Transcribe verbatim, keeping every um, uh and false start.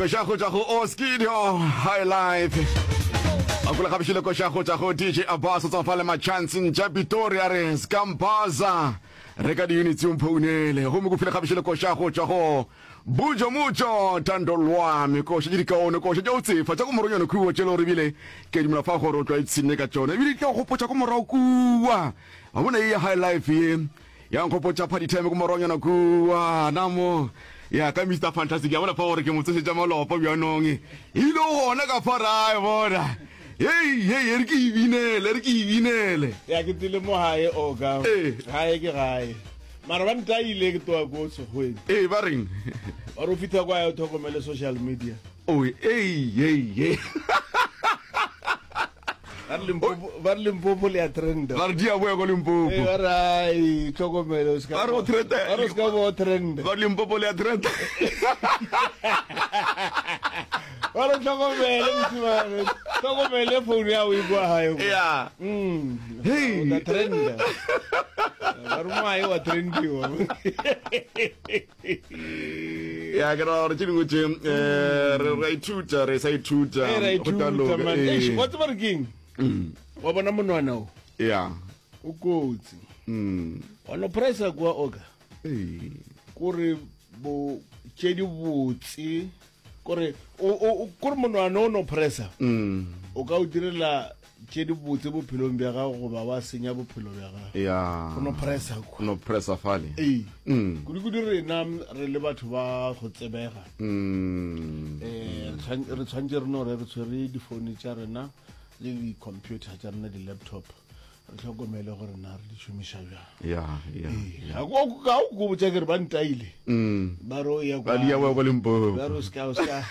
Koša go tšwa go Oskido High Life. A kula gabišile koša go tšwa go D J Abbas o tswa fa le Machanceng tša Pretoria re Skambaza. Re ka di-units o mphounele. Gomme go file gabišile koša go tšwa go Bujo Mujo Tando Lwami. Koša tše dikaone, koša tša go tsefa tša ko moronyana kua tšelo re bile ke dumela fa gore o tla ipshinne ka tšona. Ebile di tla go gopotša ko morago kua. Wa bona ye ya High Life ye. Ya nkgopotša party time ko moronyana kua. Na mo ya ka Mister Fantastic ya bona fa gore ke mo tsošetša malopo bjanong. Ile gona ka fa ra e bona. Hei hei re ke ibinele, re ke ibinele. Ya ke tsile mo gae oka. Ee. Gae ke gae. Mara ba ntaile ke toa ko Sekgweng. Ee, ba reng? Ba re o fihla kwa o tlhokomele social media. Oi, ei, ei, ei. Ba re Limpopo, ba re Limpopo le ya trenda. Ba re di a boya ko Limpopo. Ee, ba re ai, tlhokomele o ska. Ba re o trenda. Ba re o ska bo trenda. Ba re Limpopo le ya trenda. Ba re tlhokomele mosimane, tlhokomele phone ya o e kwa gae. Ya. Mm. Hey. O tla trenda. Ba re mo gae wa trendiwa. Ya ke ra gore tše dingwe tše eh re ra ithuta, re sa ithuta. Ee, ra Go tla ithuta, loka, man. ee. Eish, wa tseba re keng? Mm. Wa bona monwana o? Ya. O kotsi. Mm. Wa no pressa kwa oka. Ee. Kore bo tše di botse. Kore o o kore monwana o no pressa. Mm. O ka o direla tše di botse bophelong bja gago goba wa senya bophelo bja gago. Ya. O no pressa kwa. O no pressa fale. Ee. Mm. Kudu-kudu rena re le batho ba go tsebega. Mm. Eh, re tshwan-, re tshwantse re no re re tshwere difounu tša rena le di-computer tša rena, di-laptop. Re tlhokomele gore na re di šomiša bjang. Ya, ya, Ee. ya. Ga ko-, ga o ko botša ke re ba ntaile. Mm. Ba re o ya Ba di ya kwa- kwa Limpopo. Ba re o ska, o ska.